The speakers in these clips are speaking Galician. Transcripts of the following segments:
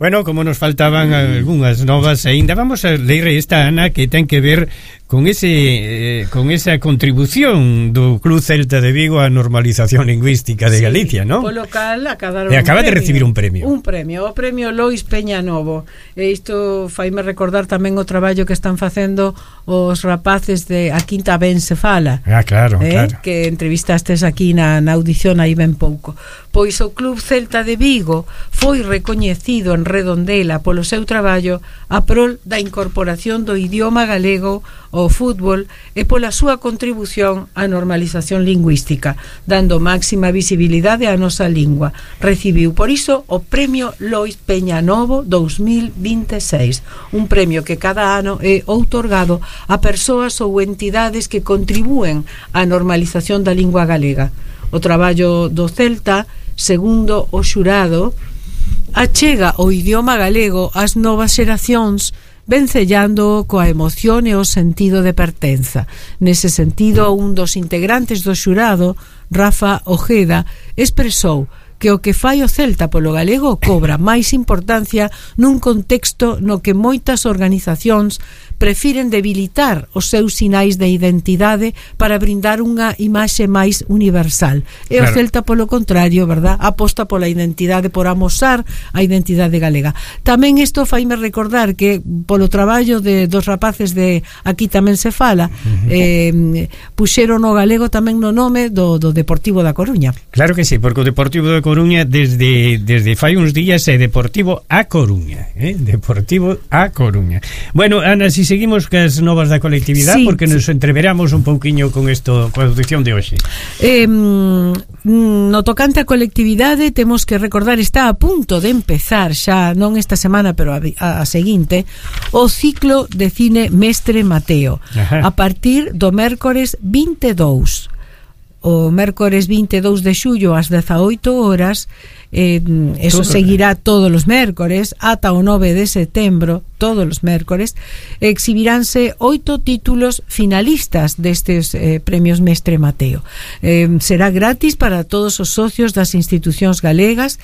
Bueno, como nos faltaban algunhas novas aínda, vamos a ler esta, Ana, que ten que ver con esa contribución do Club Celta de Vigo á normalización lingüística de Galicia, ¿no? Polo cal acaba de recibir un premio. O premio Lois Peñanovo. E isto faime recordar tamén o traballo que están facendo os rapaces de A Quinta Ben se fala. Claro. Que entrevistastes aquí na audición aí ben pouco. Pois o Club Celta de Vigo foi recoñecido en Redondela polo seu traballo a prol da incorporación do idioma galego ao fútbol e pola súa contribución á normalización lingüística, dando máxima visibilidade á nosa lingua. Recibiu por iso o Premio Lois Peñanovo 2026, un premio que cada ano é outorgado a persoas ou entidades que contribúen á normalización da lingua galega. O traballo do Celta, segundo o xurado, achega o idioma galego ás novas xeracións, vencellando coa emoción e o sentido de pertenza. Nese sentido, un dos integrantes do xurado, Rafa Ojeda, expresou que o que fai o Celta polo galego cobra máis importancia nun contexto no que moitas organizacións prefiren debilitar os seus sinais de identidade para brindar unha imaxe máis universal. E o Celta, polo contrario, verdad, aposta pola identidade, por amosar a identidade galega. Tamén isto faime recordar que polo traballo dos rapaces de Aquí Tamén se fala, puxeron o galego tamén no nome do Deportivo da Coruña. Claro que sí, porque o Deportivo da Coruña desde fai uns días é Deportivo A Coruña, Deportivo A Coruña. Bueno, Ana, si seguimos cas novas da colectividade, sí, porque nos entreveramos un pouquiño con isto, coa audición de hoxe. No tocante a colectividade, temos que recordar, está a punto de empezar xa, non esta semana, pero a seguinte, o ciclo de cine Mestre Mateo. Ajá. A partir do mércores 22. O mércores 22 de xullo ás 18 horas, eso seguirá todos os mércores ata o 9 de setembro, todos os mércores, exhibiránse 8 títulos finalistas destes premios Mestre Mateo. Será gratis para todos os socios das institucións galegas.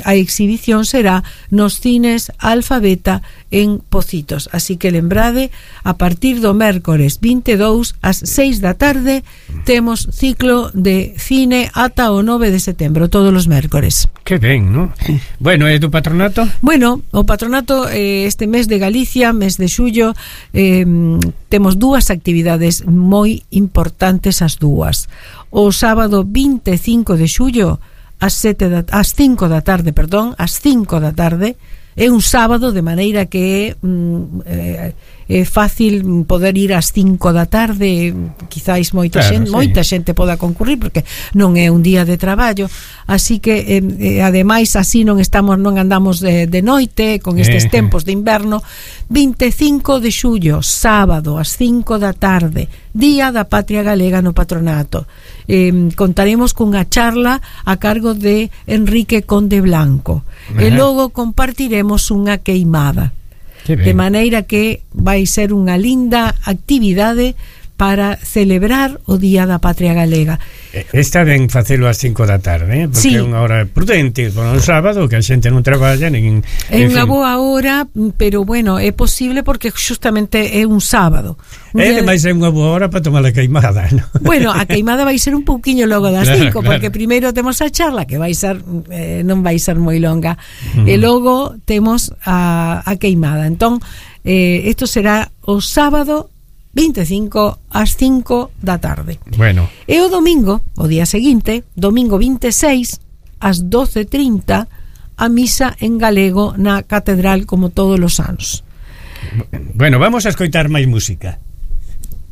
A exhibición será nos cines Alfabeta en Pocitos, así que lembrade, a partir do mércores 22 ás 6 da tarde temos ciclo de cine ata o 9 de setembro, todos os mércores. Que ben, ¿no? Bueno, e do patronato? Bueno, o patronato este mes de Galicia, mes de xullo, temos dúas actividades moi importantes, as dúas. O sábado 25 de xullo ás 5 da tarde, é un sábado, de maneira que é fácil poder ir ás 5 da tarde, quizáis moita xente poda concurrir, porque non é un día de traballo, así que ademais así non andamos de noite con estes tempos de inverno. 25 de xullo, sábado ás 5 da tarde, Día da Patria Galega no patronato. Contaremos cunha charla a cargo de Enrique Conde Blanco. E logo compartiremos unha queimada, de maneira que vai ser unha linda actividade para celebrar o Día da Patria Galega. Está ben facelo ás 5 da tarde, porque é unha hora prudente, con o sábado que a xente non traballa nin... É unha boa hora, pero bueno, é posible porque justamente é un sábado. Ademais é unha boa hora para tomar a queimada, ¿no? Bueno, a queimada vai ser un pouquiño logo das 5, porque primeiro temos a charla, que vai ser non vai ser moi longa, e logo temos a queimada. Entón, isto será o sábado 25 ás 5 da tarde. Bueno. E o domingo, o día seguinte, domingo 26 ás 12:30, a misa en galego na catedral, como todos os anos. Bueno, vamos a escoitar máis música.